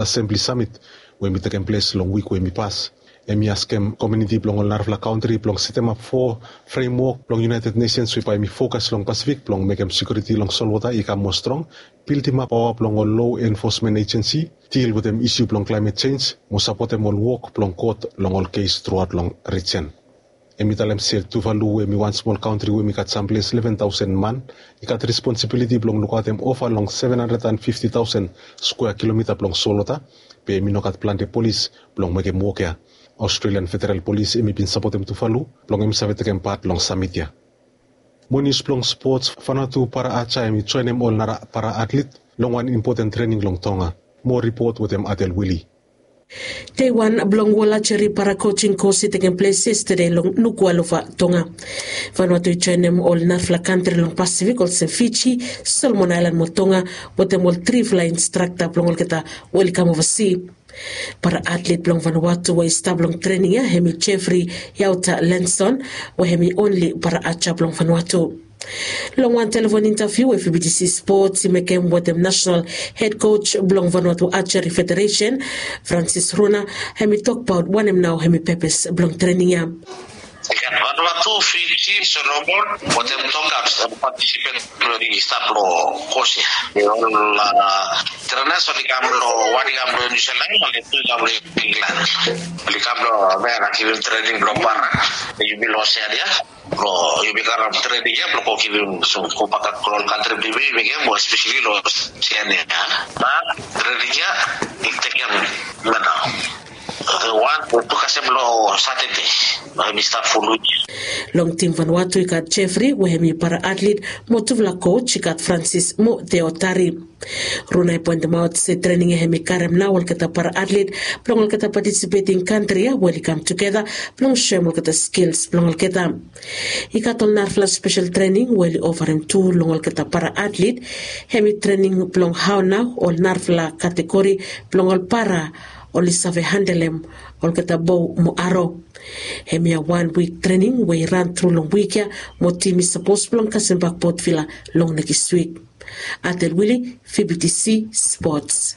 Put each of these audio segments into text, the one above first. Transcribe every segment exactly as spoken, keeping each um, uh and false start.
Assembly Summit we hemi tekem ples long wik we hemi pas. Hemi askem komuniti blong ol narafala kantri blong setemap fo fremwok blong United Nations we bae hemi fokas long Pasifik blong mekem sekiuriti long solwota i kam moa strong, bildimap paoa blong ol law enforcement agency, dil wetem isu blong climate change, mo sapotem ol wok blong kot long ol kes truaot long rijen. Hemi talem se Tuvalu we hemi wan smol kantri we hemi gat samples leven taosen man, i gat responsibiliti blong lukaotem ova long seven hundred and fifty thousand square kilomita blong solwota, be hemi no gat plante polis blong mekem wok ya. Australian Federal Polis hemi bin sapotem Tuvalu blong hemi save tekem pat long samit ya. Mo nius blong spots, Vanuatu para aja hemi joenem ol nara para atlit long wan impoten trening long Tonga. Mo ripot wetem Adel Wili. Dei wan blong Wol Ajeri Para Coaching Course i tekem ples yestede long Nuku'alofa, Tonga. Vanuatu i joenem ol narafala kantri long Pasifik olsem Fiji, Solomon Aelan mo Tonga, wetem ol trifala instrakta blong olgeta we oli kam ovasi. Para atlit blong Vanuatu we i stap long trening ya hemi Jeffrey Yauta Lenson, we hemi onli para aja blong Vanuatu. Long wan telefon intaviu we V B T C Sports i mekem wetem nasenal hed koj blong Vanuatu Ajeri Federesen, Francis Runa, hemi tokbaot wanem nao hemi pepes blong trening ya. I gat Vanuatu, Fiji, Solomon wetem Tonga oli patisipet, oli stap long kos ya. Ol trenas oli kam long, wan i kam long Niu Silan, oli tu i kam long Inglan. Oli kam long Amerika givim trening blong para. Yumi long Oseania. Blong yumi karem trening ya blong go givim, so go bakap long ol kantri blong yumi, yumi givim, mo espeseli long Oseania. Ba trening ya i tekem, wan o tu kasem long Satade. Ba hemi stap ful wik. Long tim Vanuatu i gat Jeffrey we hemi para atlit, mo tufala koj i gat Francis mo Theo Tari. Runa i poentemaot se trening ya hemi karem nao olgeta para atlit blong olgeta patisipeting kantri ya we oli kam tugeta blong soem olgeta skils blong olgeta. I gat ol narafala spesel trening we oli ofarem tu long olgeta para atlit, hemi trening blong hao nao ol narafala kategori blong ol para oli save handelem olgeta bow mo aro. Hemia wan wik trening we i ran tru long wik ya, mo tim i sapos blong kasem bak Port Vila long nekis wik. Adel Wili, V B T C Sports.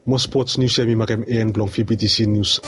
Mo spots nius ya hemi makem en blong V B T C Nius.